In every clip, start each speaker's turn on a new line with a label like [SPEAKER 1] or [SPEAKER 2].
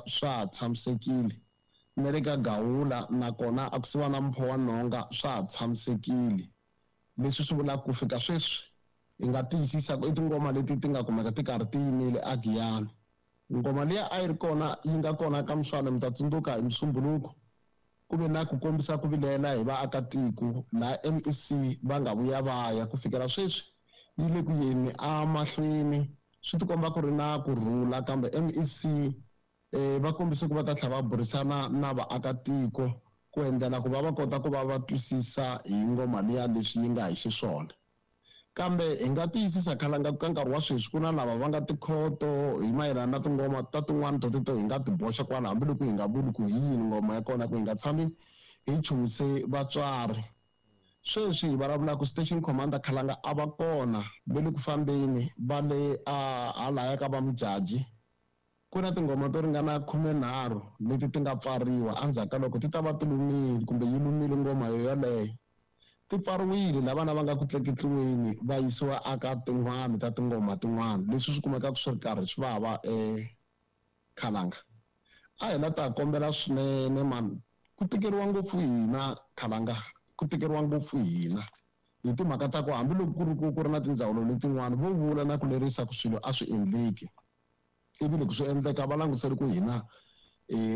[SPEAKER 1] swa ha tshamisekile na le ka Gawula nakona a kusuhi na Mpho wa Nhonga swa ha tshamisekile. Leswi swi vulaka ku fika sweswi hi nga tiyisisa ku i tingoma leti ti nga kumeka ti karhi ti yimile a Giyani. Ngoma liya a yi ri kona yi nga kona ka Mswane mi ta tsundzuka hi Musumbhunuko ku ve na ku kombisa ku vilela hi vaakatiko laha MEC va nga vuya va ya ku fikela sweswi yi le ku yeni emahlweni swi tikomba ku ri na ku rhula kambe MEC va kombise ku va ta tlhela va burisana na vaakatiko ku endlela ku va va kota ku va va twisisa hi ngoma liya leswi yi nga hi xiswona. Kambe hi nga tiyisisa khalanga ka nkarhi wa sweswi ku na lava va nga tikhoto hi mayelana na tingoma ta tin'wana to teto hi nga ti boxa kwala hambiloko hi nga vuli ku hi yini ngoma ya kona ku hi nga tshami hi chuhise vatswari. Sweswi hi vulavulaka station commander Khalanga a va kona ve le ku fambeni va le a halaya ka va Mujaji. Ku na tingoma to ringana 13 leti ti nga pfariwa endzhaku ka loko ti ta va ti lumile kumbe yi lumile ngoma yo yoleyo. Ti pfariwile lava vana va nga ku tleketliweni va yisiwa aka tin'wana ta tingoma tin'wana leswi swi kumekaka swi ri karhi swi vava Khalanga. A hi la ta kombela swinene mani ku tikeriwa ngopfu hina Khalanga, ku tikeriwa ngopfu hina hi timhaka ta ku hambiloko ku ri ku ku ri na tindzawulo letin'wana vo vula na ku lerisa ku swilo a swi endleki ivi loko swi endleka va langutisele ku hina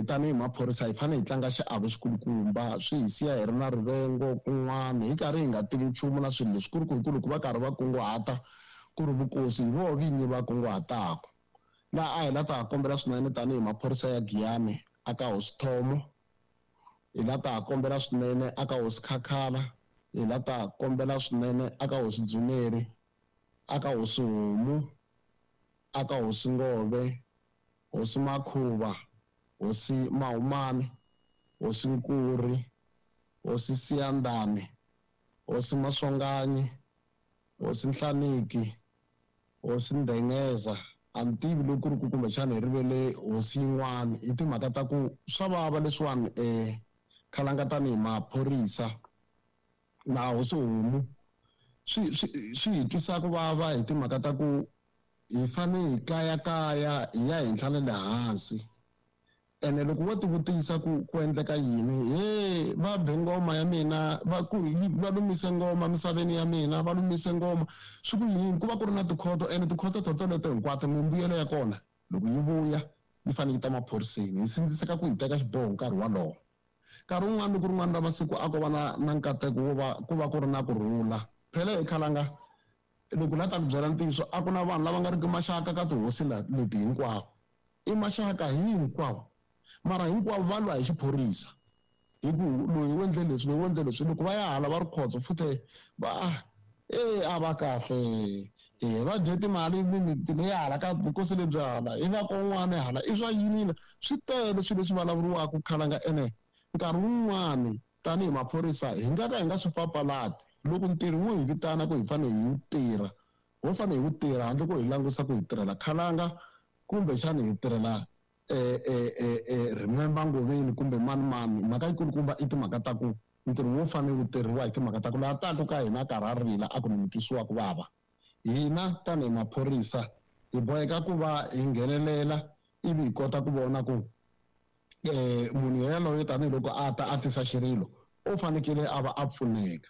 [SPEAKER 1] tanihi maphorisa hi fanele hi tlanga xiave xikulukumba swi hi siya hi ri na rivengo kun'wana hi karhi hi nga tivi nchumu na swilo leswi ku ri ku hi ku loko va karhi va kunguhata ku ri vukosi hi voho vinyi va kunguhataka. Laha a hi la ta kombela swinene tanihi maphorisa ya Giyani aka Hosi Thomo, hi la ta kombela swinene aka Hosi Khakhala, hi la ta kombela swinene aka Hosi Dzumeri, aka Hosi Homu, aka Hosi Ngove, Hosi Makhuva, Hosi Mahumani, Hosi Nkuri, Hosi Siyandhani, Hosi Maswanganyi, Hosi Nhlaniki, Hosi Ndengeza. A ni tivi loko ku ri ku kumbexana hi rivele hosi yin'wana hi timhaka ta ku swa vava leswiwani Khalanga tanihi maphorisa na Hosi Homu swi swi swi hi twisa ku vava hi timhaka ta ku hi fane hi kayakaya hi ya henhla na le hansi. Ene loko wo tivutisa ku ku endleka yini he va be ngoma ya mina va ku va lumise ngoma misaveni ya mina va lumise ngoma swi ku yini ku va ku ri na tikhoto ene tikhoto to toleto hinkwato mimbuyelo ya kona loko yi vuya yi fanele yi ta maphoriseni hi sindziseka ku hi teka xiboho nkarhi wolowo. Nkarhi wun'wana loko rin'wana ra masiku a ko va na na nkateko wo va ku va ku ri na ku rhula phela hi Khalanga loko la ta ku byela ntiyiso a ku na vanhu lava nga ri ki maxaka ka tihosi leti hinkwavo i maxaka hinkwawo mara hinkwavo va lwa hi xiphorisa hi ku loyi u endle leswi loyi u endle leswi loko va ya hala va ri khotso futhe va a va kahle va dye timali mimiti leyi hala ka vukosi lebyi hala i va kon'wana hala i swa yini swi tele swilo leswi vulavuriwaka Khalanga ene nkarhi wun'wani tanihi maphorisa hi nga ka hi nga swi papalati loko ntirho wu hi vitana ku hi fanele hi wu tirha ho fanele hi wu tirha handle ko hi langusa ku hi tirhela Khalanga kumbexana hi tirhela Remember Ngoveni kumbe mani mani. Mhaka yikulukumba i timhaka ta ku ntirho wo fanele wu tirhiwa hi timhaka ta ku laha taku ka hina karhi a rila a ku ni mi twisiwa ku vava. Hina tanihi maphorisa hi boheka ku va hi nghenelela ivi hi kota ku vona ku munhu yaloye tanihiloko a ta a tisa xirilo u fanekele a va a pfuneka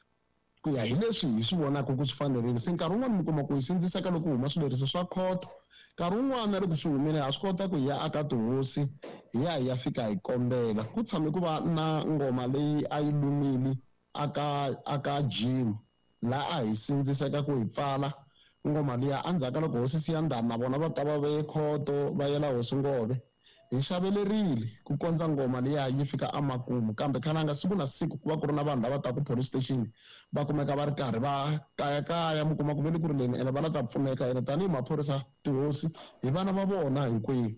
[SPEAKER 1] ku ya hi leswi hi swi vonaka ku swi fanerile. Se nkarhi wun'wani mi kuma ku hi sindziseka loko huma swileriso swa khoto nkarhi wun'wani na loko swi humile ha swi kota ku hi ya aka tihosi hi ya hi ya fika hi kombela. Ku tshame ku va na ngoma leyi a yi lumile aka gym laha a hi sindziseka ku hi pfala ngoma liya endzhaku ka loko Hosi Siyandhani na vona va ta va veye khoto va yela Hosi Ngove hi xavelerile ku kondza ngoma liya yi fika emakumu. Kambe Khalanga siku na siku ku va ku ri na vanhu lava taka police station va kumeka va ri karhi va kayakaya mi kuma ku ve le ku rileni ene va la ta pfuneka ene tanihi maphorisa tihosi hi vana va vona hinkwenu.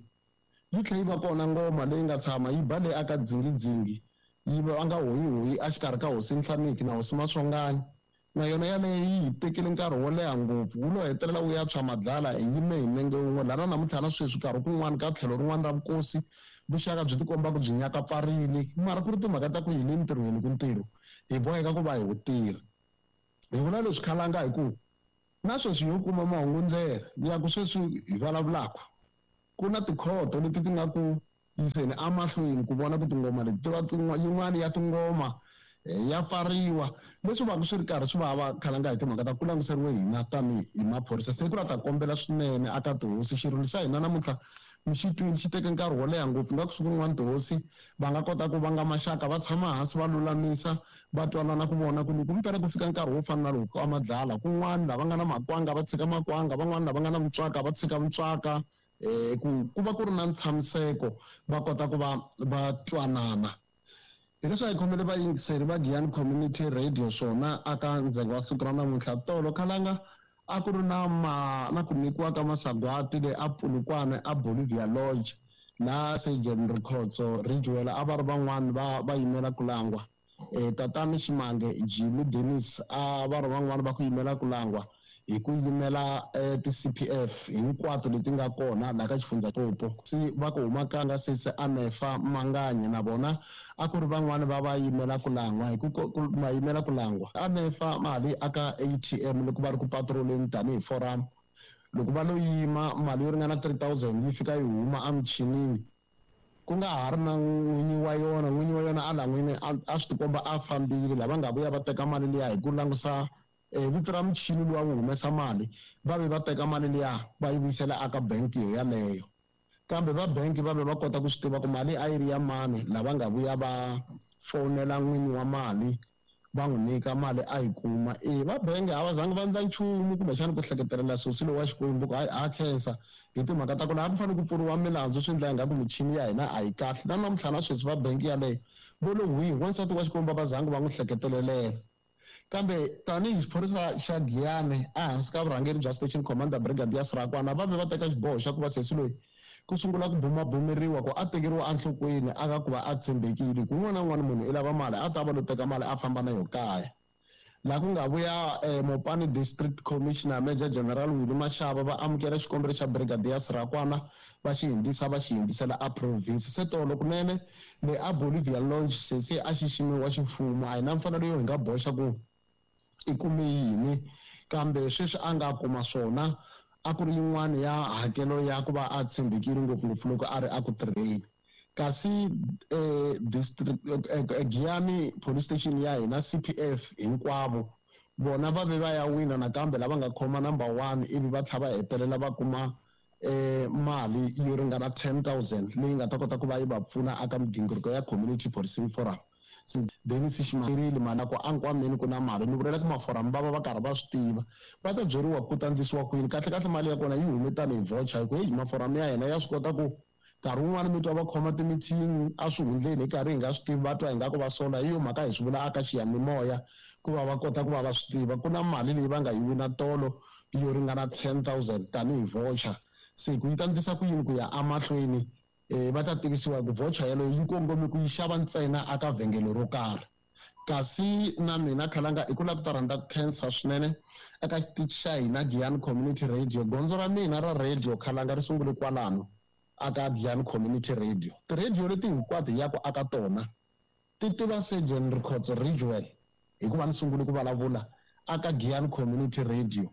[SPEAKER 1] Yi tlhela yi va kona ngoma leyi nga tshama yi ba leyi aka dzingidzingi yi va nga hoyihoyi exikarhi ka Hosi Nhlaniki na Hosi Maswanganyi na yona yaleyo yi hi tekile nkarhi wo leha ngopfu wu lo hetelela wu ya tshwa madlala hi yime hi nenge wun'we lana namuntlha na sweswi nkarhi kun'wana ka tlhelo rin'wana ra vukosi vuxaka byi tikomba ku byi nyakapfarile mara ku ri timhaka ta ku hi le ntirhweni ku ntirho hi boheka ku va hi wu tirha. Hi vula leswi Khalanga hi ku na sweswi yo kuma mahungu ndlela ya ku sweswi hi vulavulaka ku na tikhoto leti ti nga ku yiseni emahlweni ku vona ku tingoma leti ti va yin'wana ya tingoma ya pfariwa leswi va swi ri karhi swi va va khalanga hi timhaka ta ku languseriwe hina tanihi hi maphorisa. Se ku la ta kombela swinene aka tihosi xirilo xa hina namuntlha mi xi twini xi teke nkarhi wo leha ngopfu nga ku siku rin'wana tihosi va nga kota ku vanga maxaka va tshama hansi va lulamisa va twanana ku vona ku loko mpela ku fika nkarhi wo fana na lowu ka madlala kun'wana lava nga na makwanga va tshika makwanga van'wana lava nga na mutswaka va tshika mutswaka ku va ku ri na ntshamiseko va kota ku va va twanana. Hi leswi a hi khomele vayingiseri va Giyani Community Radio swona aka ndzhenga wa siku ra namuntlha tolo khalanga a ku ri na na ku nyikiwa ka masagwati le a Polokwane a Bolivia Lodge laha Surgeon Rikhotso Ridgewell a va ri van'wani va yimela ku langwa. Tatani Ximange Jimmy Dennis a va ri van'wani va ku yimela ku langwa hi ku yimela ti-CPF hinkwato leti nga kona laha ka xifundza Limpopo. Se va ku huma kanga sesi Anefa Manganye na vona a ku ri van'wani va yimela ku langwa hi ku ma yimela ku langwa. Anefa mali aka ATM loko va ri ku patroleni tanihi forum loko va lo yima mali yo ringana 3000 yi fika yi huma emichinini ku nga ha ri na n'winyi wa yona n'winyi wa yona a la n'wini a swi tikomba a fambile lava nga vuya va teka mali liya hi ku langusa vito ra muchini luwa wu humesa mali va ve va teka mali liya va yi vuyisela aka bank yo yaleyo kambe va bank va ve va kota ku swi tiva ku mali a yi ri ya mani lava nga vuya va fonela n'winyi wa mali va n'wi nyika mali a yi kuma. Va bangi a va zangi va endla nchumu kumbexana ku hleketelela sosi lowu wa Xikwembu ku a khensa hi timhaka ta ku laha ku fanele ku pfuriwa milandzu swi endla ingaku michini ya hina a yi kahle na namuntlha na sweswi va bangi yaleyo vo lo hwihi wansati wa Xikwembu va zangi va n'wi hleketelelela. Kambe tanihi xiphorisa xa Giyani ehansi ka vurhangeri bya Station Commander Brigadier Sirakwana va ve va teka xiboho xa ku va sesi loyi ku sungula ku bumabumeriwa ku a tekeriwa enhlokweni aka ku va a tshembekile ku un'wana na un'wana munhu i lava mali a ta va lo teka mali a famba na yo kaya. Laha ku nga vuya Mopani District Commissioner Major General Willie Mashaba va amukela xikombelo xa Brigadier Sirakwana va xi hindzisa va xi hindzisela a province. Se tolo kunene le a Bolivia Lounge sesi a xiximiwa ximfumo a hi na mfanelo yo hi nga boxa ku i kume yini kambe sweswi a nga kuma swona a ku ri yin'wana ya hakelo ya ku va a tshembekile ngopfungopfu loko a ri a ku tirheni. Kasi district Giyani Police Station ya hina CPF hinkwavo vona va ve va ya wina nakambe lava nga khoma number 1 ivi va tlhela va hetelela va kuma mali yo ringana 10,000 leyi nga ta kota ku va yi va pfuna aka migingiriko ya Community Policing Forum. Dennis Ximarile mali ku ankwameni ku na mali ni vulela ku maforum va va va karhi va swi tiva va ta byeriwa ku ta ndlisiwa ku yini kahle kahle mali ya kona yi hume tanihi voucher hi ku heyi maforum ya hina ya swi kota ku nkarhi wun'wani mi twa va khoma timithini a swi hundleni hi karhi hi nga swi tivi va twa ingaku va sola hi yo mhaka hi swi vula aka xiyanimoya ku va va kota ku va va swi tiva ku na mali leyi va nga yi wina tolo yo ringana 10,000 tanihi voucher. Se ku yi ta ndlisa ku yini ku ya emahlweni va ta tivisiwa ku voucher yaleyo yi kongome ku yi xava ntsena aka vhengele ro karhi. Kasi na mina khalanga i ku lava ku ta rhandza ku khensa swinene eka xitichi xa hina Giyani Community Radio. Gondzo ra mina ra radio khalanga ri sungule kwalano aka Giyani Community Radio. Ti-radio leti hinkwato hi yaku aka tona ti tiva Surgeon Rikhotso Ridgewell hikuva ni sungule ku vulavula aka Giyani Community Radio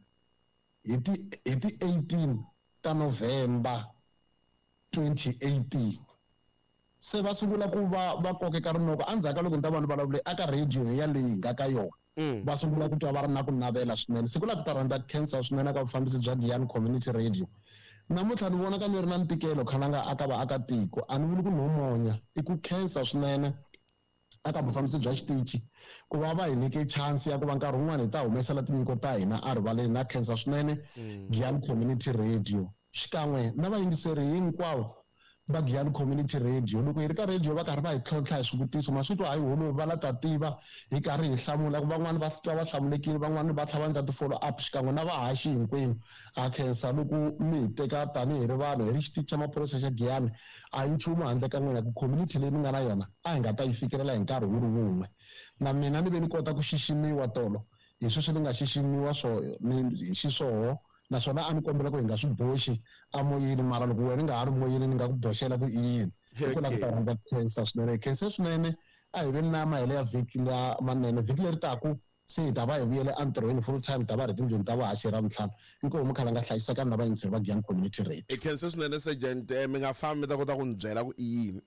[SPEAKER 1] hi ti 18 ta November 2018. Se va sungula ku va kokeka rinoko endzhaku ka loko ni ta va ni vulavule aka radio yaleyi hi nga ka yona. Va sungula ku twa va ri na ku navela swinene. Siku la ku ta rhandza khensa swinene eka vufambisi bya Giyani Community Radio. Namuntlha ni vona ka ni ri na ntikelo khalanga aka vaakatiko a ni vuli ku no monya i ku khensa swinene aka vufambisi bya xitichi ku va va hi nyike chance ya ku va nkarhi wun'wani hi ta humesela tinyiko ta hina a rivaleni. Na khensa swinene Giyani Community Radio xikan'we na vayingiseri hinkwavo va Giyani Community Radio. Loko hi ri ka radio va karhi va hi tlhontlha hi swivutiso ma swi twa hayi holovi va la ta tiva hi karhi hi hlamula ku van'wani va twa va hlamulekile van'wani va tlhela va endla ti-follow up xikan'we na vahaxi hinkwenu. Ha khensa loko mi hi teka tanihi ri vanhu hi ri xitichi xa maphorisa xa Giyani a hi nchumu handle ka n'wina ku community leyi mi nga na yona a hi nga ta yi fikelela hi nkarhi wu ri wun'we. Na mina ni ve ni kota ku xiximiwa tolo hi sweswi ni nga xiximiwa hi xiswoho naswona a ni kombela ku hi nga swi boxi amoyeni mara loko wena nga ha ri moyeni ni nga ku boxela ku i yini. Hi ku lava ku ta rhandza ku khensa swinene. Hi khensa swinene a hi veni na mahelo ya vhiki lamanene vhiki leri taku Se hi ta va hi vuyele entirhweni full time, ta va ri tindlwini ta vuhaxi hi Ravuntlhanu. Inkomu Khalanga, hlayisekani na vayingiseri va Giyani Community Radio.
[SPEAKER 2] Hi khense swinene, Sergeant. Mi nga fambi, mi ta kota ku ni byela ku i yini.